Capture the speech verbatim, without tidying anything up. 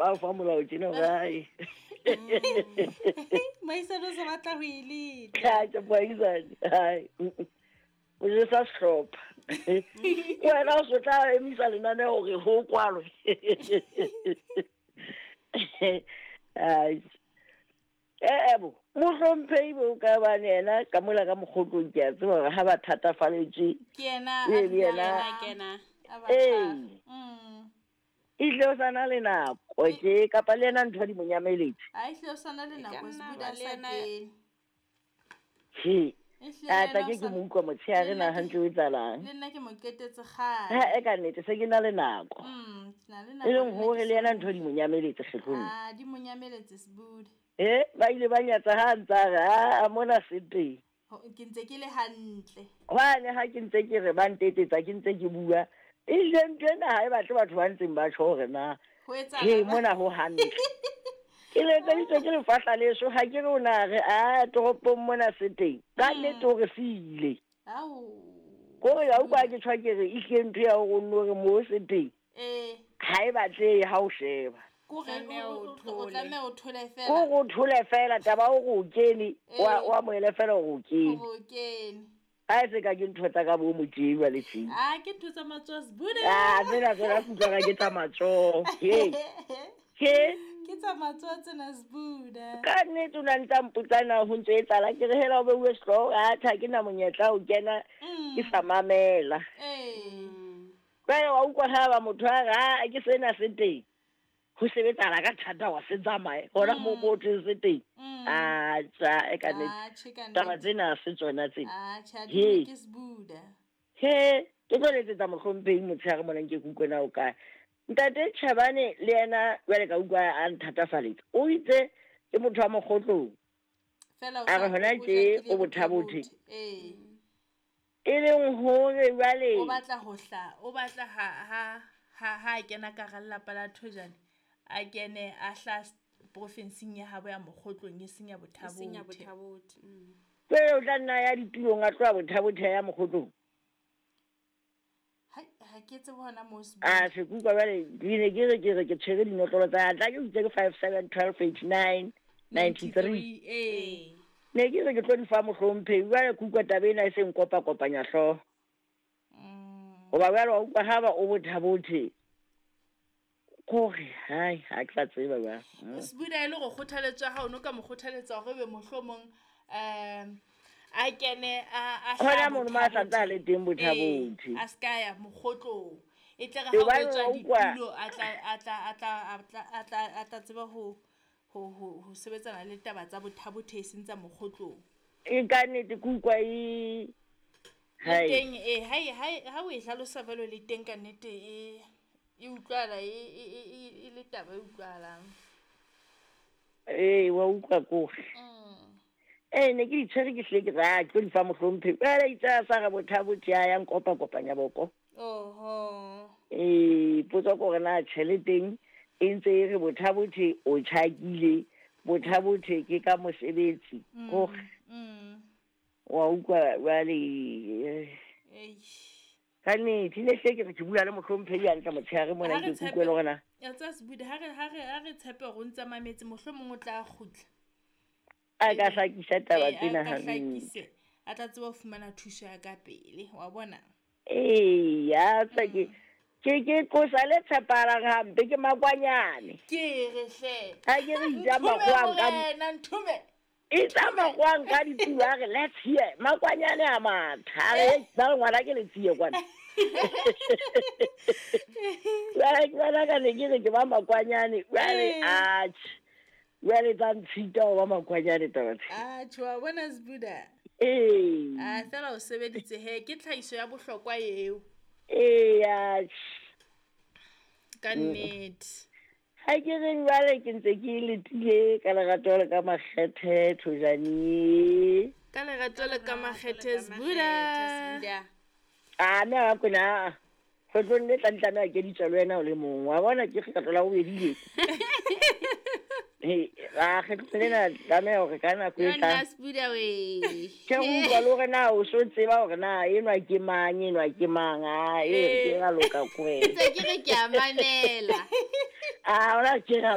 Ba fa molao tjena gae. Moahisane o sa batla ho e leta. Tjhe, moahisane, hai. O jesa sehlopha. Wena o se tla emisa lenaneo hore ho kwalwe. Ai. Eh bo, mohlomphehi bo ka bane yena ka mola ka mokgotlong ke a tseba hore ha ba thatafaletswe. Ke yena Ee, a le yena. dulang Kena. a ba Ee. tshwara. Mm. Ehlile o sa na le nako tje kapa le yena ntho di mo nyameletse. A ehlile o sa na le E ka nako nna Sbuda ba a le sa yena- kene. He. Ehlile A le tla yena ke o ke sa- mo utlwa motshehare le na nna ke- hantle o etsahalang. Le nna ke mo qetetse kgale. Ha e ka nnete se ke na le nako. Mm, ke na le E nako leng le nna hore ke le yena sa- ntho di mo nyameletse kgetlong. Ah, di mo nyameletse Sbuda. Eh, ba ile ba nyatsa ha ntsa re a mona se teng. Ho- Ke ntse ke le hantle. Hwane ha ke ntse ke re ba ntetsetsa ke ntse ke bua. Ehlile ntho ena ha e batle batho ba ntseng ba tjho hore na Ho he etsahala mona ho hantle. Ke letseditswe ke lefahla leso ha ke re o na re a toropong mona se teng. Ka nnete hore se ile. Ao. Kore ya utlwa ke tjho ke re ehlile ntho ya hore o nno re mo se teng. Eh, Ha e batlehe ha o sheba. kore Tlameha o- o o- o thole. tlameha o thole Ko fela. go thole fela taba o go kene wa Eh. wa amohele fela hore o kene. Hore o kene. Ha e se ka ke ntho tsa ka bo motjeu wa le tjena. Ah, ke ntho tsa matsoho Sbuda. Ah, tsena tsona ke utlwa ka ke tsa matsoho. He. He. Ke tsa matsoho tsena Sbuda. Ka nnete o na ntsa mpotsa na ho ntso etsahala ke re hela o beuwe sehlooho atjhe ha ke na monyetla ho kena Mm. ke sa mamela. Eh. Jwale wa utlwa ha ba motho a re ha ke sena se teng. Ho sebetsahala ka thata wa se tsamaye hona moo mo thweng se teng. Mm. Atjha e ka nnete. Ah, tjhe ka Taba nnete. tsena ha se tsona tsena. Ah, tjhe, ha di He. ke Sbuda. He, ke tlo letsetsa mohlomphehi motshehare mona nke ke utlwe na o kae. Ntate Tjhabane le yena jwale ka utlwa a nthatafaletsa. O itse ke motho wa mokgotlong. Fela o A re sa- hona o tje jakile o bothabothe. bothabothe. Eh. E leng hore jwale O batla ho hla, o batla ha ha ha ha a kena ka hara lelapa la Thojane, a kene a hla s- profinseng ya habo ya Mokgotlong e seng ya E seng ya Bothabothe. Bothabothe. Mm. jwale o tla nna ya ditulong a tloha Bothabothe a ya mokgotlong. Hai, ha ke tsebe hona moo A Sbuda. se ke utlwa jwale ke ne ke re ke re ke tshwere dinotlolo tsa tla ke itse ke five seven twelve eighty nine ninety three. Eh. Ne ke re ke tlo di fa mohlomphehi jwale ke utlwa taba ena e se nkopa-kopanya hlooho. Mm. Hoba jwale wa utlwa ha ba o Bothabothe kore hai ha ke sa tseba jwale. Mm. Sbuda e le hore kgothaletso ya hao no ka mo kgothaletsa hore ebe mohlomong um a kene a a Hona hlaha mono mo a sa ntse a le teng Bothabothe. Bothabothe. Eh, a ska ya Mokgotlong. E tle re E ha o hobane etswa wa utlwa ditulo a tla a tla a tla a tla a tla a tla tseba ho ho ho ho sebetsana le taba tsa Bothabothe e seng tsa Mokgotlong. E ka nnete ke utlwa e Le hai. teng eh ha e- ha e- ha o e hlalosa jwalo le teng ka nnete e e utlwahala e e e e- e le taba e utlwahalang. Ee, wa utlwa kore. Mm. Ee, ne ke di tshwere ke hlile ke re ah, ke tlo di fa mohlomphehi. Jwale itse a sa re Bothabothe a ya nkopa-kopanya boko. Oho. Ee, potso ke hore na tjheleteng e ntse e re Bothabothe o tjhakile, Bothabothe ke ka mosebetsi. Kore Mm. wa utlwa jwale eh, Eish. ka nnete ne hlile ke re ke bua le mohlomphehi hantle motshehare mona Ha re ke ke utlwe le hore na Ya tseba Sbuda ha re ha re ha re tshepe hore o ntse a mametse mohlomong o tla kgutla. a ka hlakisa taba Eh, a tsena ka hantle. hlakise a tla tseba ho fumana thuso ya ka pele wa bona. Ee, ya tsa ke ke ke qosa le tshepahalang hampe ke makwanyane. Ke re hle. Ha ke re itsa Nthume makwang ka morena, nthume. itsa makwang ka ditulo a re let's hear makwanyane a matha a re ba re ngwana ke letsie kwana. Jwale ke bona ka ne ke re ke ba makwanyane jwale Eh. atjhe jwale tsa ntshita ho ba makwanyane taba tse. Atjhe wa bona Sbuda. Ee. Ah fela o sebeditse he ke tlhahiso ya bohlokwa eo Ee, atjhe. ka nnete. Ha ke re jwale ke ntse ke letile ka lerato le ka makgethe Thojane. Ka lerato le ka makgethe Sbuda. Sbuda. A mme a kwena a kgetlong le tlang tlameha ke ditswa le wena o le mong. Wa bona ke kgetlo la bobedi le. He, a kgetlong lena tlameha hore ka nako e Yo nna tlang. Sbuda we. Ke go utlwa le hore na o so tseba hore na enwa ke mang, enwa ke mang. A e ke ra loka ko wena. Ntse ke re ke a mamela. A hona ke ra